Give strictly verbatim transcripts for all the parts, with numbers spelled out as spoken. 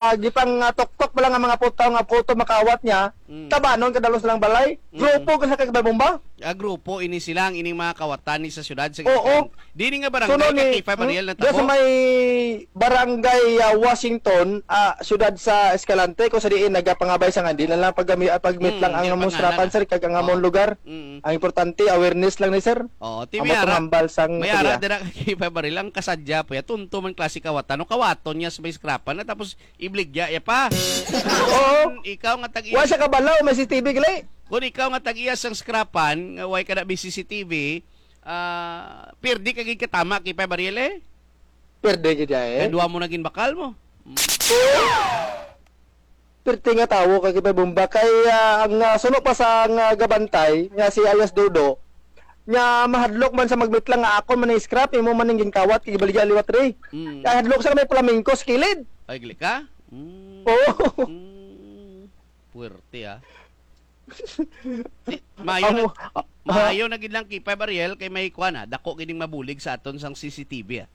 ah, gipang, ah, tuktok pa lang ang mga putaw nga photo makawat niya, Mm. tabanon kadalo silang balay. Mm. Grupo ka sa Kay Kay Bay Bomba? Ah, grupo ini sila, ang ining mga kawatan ni sa syudad sa Oo. Giskan. Dini nga barangay, Suno ni, Kay Kay Bay, hmm? Ariel, na Diyan sa tabo? may barangay, ah, Washington, ah, syudad sa Escalante, kung sa diin nagapangabay sa nga, di na lang pagami-, ah, pagmit Mm, lang ang di na among pangalan, srapan, ah. sir, kag ang among Oo. lugar. Mm. Ang importante, awareness lang ni, sir. Oo, Amo Tibiara, tong hambal sang may ara Korea. dira ka Kay Kay Bay, Ariel, ang kasadya po ya, tunto man klase kawatan, no? Kawaton niya sa may skrapan na, tapos ibligya ya pa. Oo. Kung ikaw nga tag-iya, Wa siya kabalaw, may C C T V gali. Kung ikaw nga tag-iya sang skrapan, nga way ka na may C C T V, ah, pirdi ka gid katama, Kay Kay Bay, Ariel, eh. Pirdi gid ya, eh. Kadwa mo na ginbakal mo. Mm. Oo. Pirti nga tawo, Kay Kay Bay Bomba. Kay, ah, ang, ah, suno pa sa nga gabantay, nga si alias Dodo, nga mahadlok man sa magmitlang nga akon man ang scrap, imo man ang ginkawat, kay gibaligya liwat ri. Mm. Kay hadlok sa may flamenco sa kilid. Ay, gali ka? Mm. Oo. Mm. Puwerte, ah. Di, maayo na, Amo, ah, maayo na gid lang, Kay Kay Bay, Ariel, kay may kuwan, ah, dako gid ning mabulig sa aton sang C C T V, ah.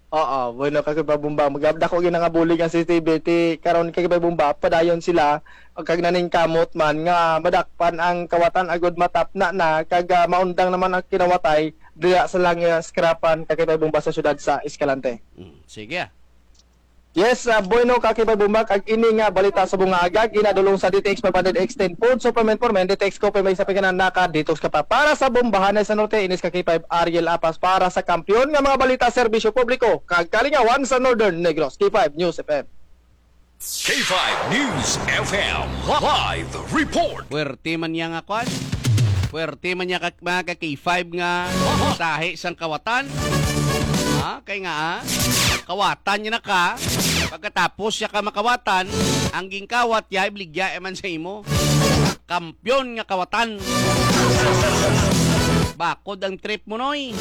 Oo, bueno, Kay Kay Bay Bomba, magdako gid na nga bulig ang C C T V, ti karon, Kay Kay Bay Bomba, padayon sila, kag naningkamot man nga madakpan ang kawatan agud matapna na, kag, ah, maundang naman ang kinawatay diya sa lang, ah, skrapan, Kay Kay Bay Bomba, sa siyudad sa Escalante. Mm, sige, ah. Yes, ah, bueno, Kay Kay Bay Bomba, kag ini nga balita sa bunga aga, ginadulong sa D T X five hundred Extend Food Supplement for Men, D T X Coffee, may sa pagkanan naka detox ka pa. Para sa Bombahanay sa Norte, inis Kay Kay Bay Ariel Apas, para sa kampiyon nga mga balita, serbisyo publiko, kag kalingawan sa Northern Negros. Kay Kay Bay News F M. Kay Kay Bay News F M live report. Puwerte man niya nga kwan. Puwerte man niya ka, mga ka K five nga sahi sang kawatan. Ha? Kay nga, ah, kawatan niya na ka. Pagkatapos siya ka makawatan, ang gingkawat ya, ibligya man sa imo. Kampiyon nga kawatan. Bakod ang trip mo, Noy.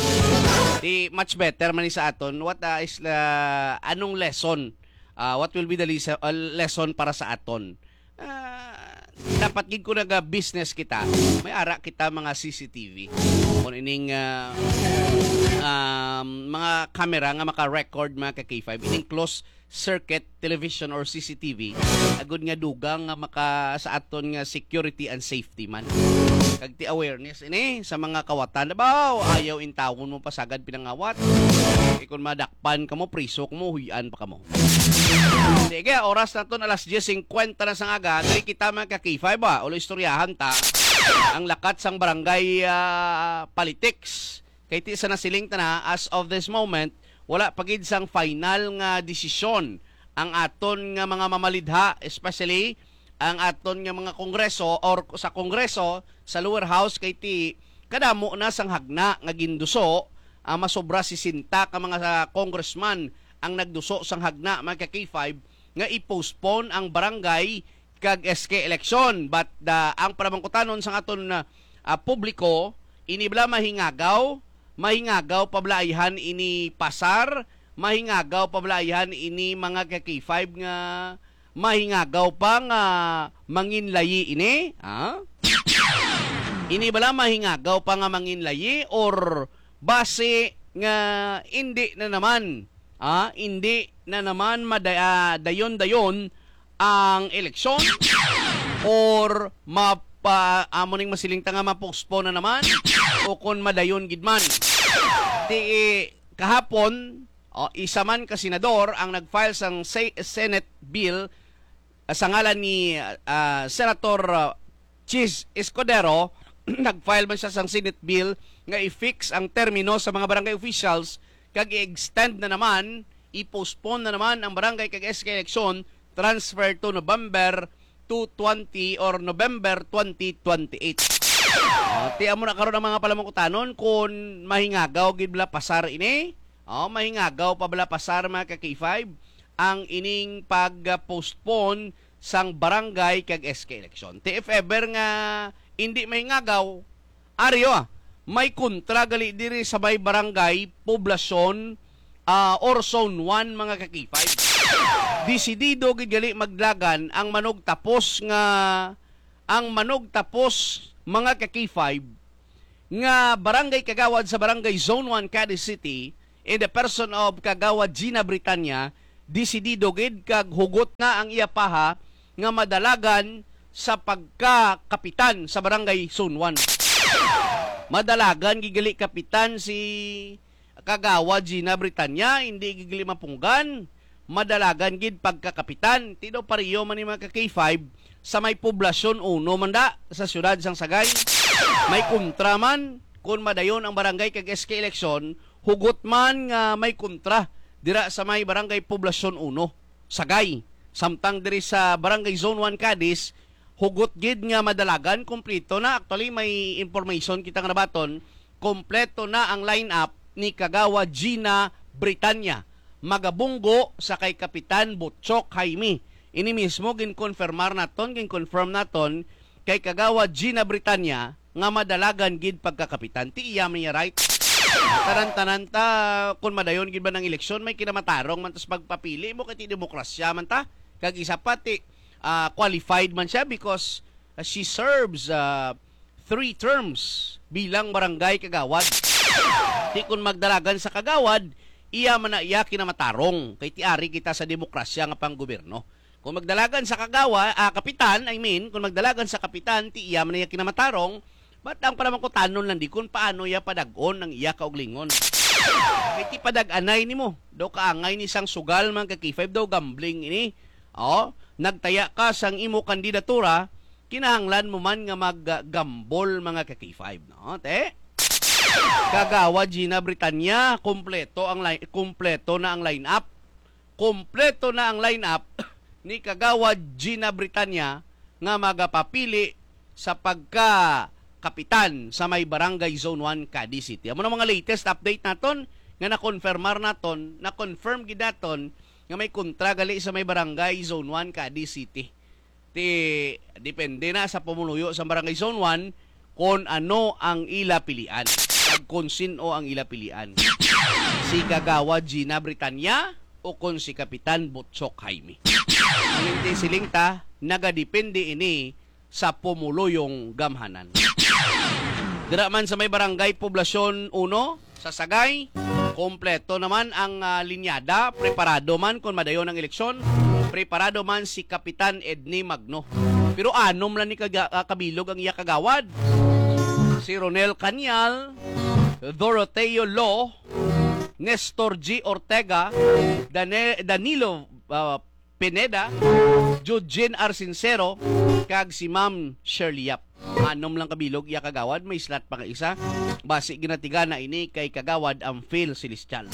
Di much better man ni sa aton. What, ah, is, ah, anong lesson? Ah, what will be the lesa-, ah, lesson para sa aton? Ah, dapat gid ko naga-business kita, may ara kita mga C C T V. Kung ining, ah, um, mga camera nga maka-record, mga ka K five, ining closed circuit television or C C T V, agud nga dugang nga maka sa aton nga security and safety man. Kag ti awareness ini sa mga kawatan, baw, ayaw intawon mo pasagad pinangawat. Kay kung madakpan kamo, priso kamo, huyan pa kamo. Sige, oras naton alas diyes singkwenta na sang aga. Diri kita, mga ka K five, ah. Ulo istoryahan ta ang lakat sang barangay, ah, politics. Kay ti sa nasiling ta na, as of this moment, wala pa gid sang final nga desisyon ang aton nga mga mamalidha, especially ang aton nga mga kongreso or sa kongreso, sa lower house, kay ti kadamo na sang hagna nga ginduso, ah, masobra sesenta ka mga congressman ang nagduso sang hagna, mga ka K five, nga i-postpone ang barangay kag S K election. But the, ang panamangkutanon sa aton, ah, ah, publiko, ini bala mahingagaw, mahingagaw pa bala ayhan ini pasar, mahingagaw pa bala ayhan ini mga ka K five nga mahingagaw pa nga manginlayi ini, ha? Ini bala mahingagaw pa nga manginlayi or basi nga indi na naman, ha? Indi na naman mada-, ah, dayon-dayon ang eleksyon or mapa-, amo ning masiling ta nga ma-postpone na naman o kon madayon gid man. Ti, kahapon, o, isa man ka senador ang nag-file sang se-, Senate bill, ah, sa ngalan ni, ah, Senator, ah, Chiz Escudero. Nag-file man siya sang Senate bill nga i-fix ang termino sa mga barangay officials kag i-extend na naman, i-postpone na naman ang barangay kag S K election transfer to November two twenty or November twenty twenty-eight. Ah, ti amo na karon ang mga palamangkutanon kung mahingagaw gid bala pasar ini. Oh, mahingagaw pa bala pasar, mga ka K five, ang ining pag-postpone sang barangay kag S K election. Ti if ever nga indi mahingagaw, ari, ah, may kontra gali diri sa may barangay, poblasyon, ah, or zone one, mga ka K five. Desidido gid gali maglagan ang manugtapos nga, ang manugtapos, mga ka K five, nga barangay kagawad sa Barangay Zone one, Cadiz City, in the person of Kagawad Gina Britanya, desidido gid kag hugot na ang iya paha nga madalagan sa pagkakapitan sa Barangay Zone one. Madalagan gid gali kapitan si Kagawad Gina Britanya, hindi gid gali mapunggan. Madalagan gid pagkakapitan. Ti daw pareho man ni mga ka K five sa may Poblacion uno man da sa siyudad sang Sagay. May kontra man kun madayon ang barangay kag S K eleksyon, hugot man nga may kontra dira sa may Barangay Poblacion uno, Sagay. Samtang diri sa Barangay Zone one, Cadiz, hugot gid nga madalagan, kompleto na. Actually, may information kita nga nabaton, kompleto na ang lineup ni Kagawad Gina Britanya. Magabunggo sa kay Kapitan Butchok Jaime. Ini mismo ginkonfirmar naton, ginconfirm naton kay Kagawad Gina Britanya nga madalagan gid pagkakapitan. Ti iya man niya right. Tanan-tanan ta, kung madayon gid ba ng eleksyon, may kinamatarong man tas pagpapili mo kay ti demokrasya man ta. Kag isa pa, ti, ah, qualified man siya because, ah, she serves, ah, three terms bilang barangay kagawad. Ti kun magdalagan sa kagawad, iya man na iya kinamatarong. Kay ti ari kita sa demokrasya nga panggobyerno. Kung magdalagan sa kagawa, ah, kapitan, I mean, kung magdalagan sa kapitan, ti iya man iya kinamatarong, but ang panamangkutanon lang di kung paano iya padag-on ang iya kauglingon. Kay ti padag-anay nimo, daw kaangay ni sang sugal, mga ka K five, daw gambling ini. Oh, nagtaya ka sang imo kandidatura, kinahanglan mo man nga mag-gamble, mga ka K five, no? Te? Kagawad Gina Britanya, kompleto ang line, kompleto na ang lineup. Kompleto na ang lineup ni Kagawad Gina Britanya nga magapapili sa pagka kapitan sa may Barangay Zone one, Cadiz City. Amo na mga latest update naton nga nakonfirmar naton, na-confirm gid naton nga may kontra gali sa may Barangay Zone one, Cadiz City. Ti, depende na sa pumuluyo sa Barangay Zone one kon ano ang ila pilian, kag kon sin-o ang ila pilian, si Kagawad Gina Britanya o kon si Kapitan Butchok Jaime. Ang inti siling ta, nagadepende ini sa pumuluyong gamhanan. Dira man sa may Barangay Poblacion uno, sa Sagay, kompleto naman ang, ah, linyada. Preparado man kon madayon ang eleksyon. Preparado man si Kapitan Edney Magno. Pero anom lang ni kaga-, ah, kabilog ang iya kagawad. Si Ronel Cañal, Doroteo Lo, Nestor G Ortega, Dane-, Danilo, ah, Pineda, Jujin Arsincero, kag si Ma'am Shirley Yap. Anom lang kabilog iya kagawad, may slot pa nga isa. Basi ginatiga na ini kay Kagawad Amphil Celestial.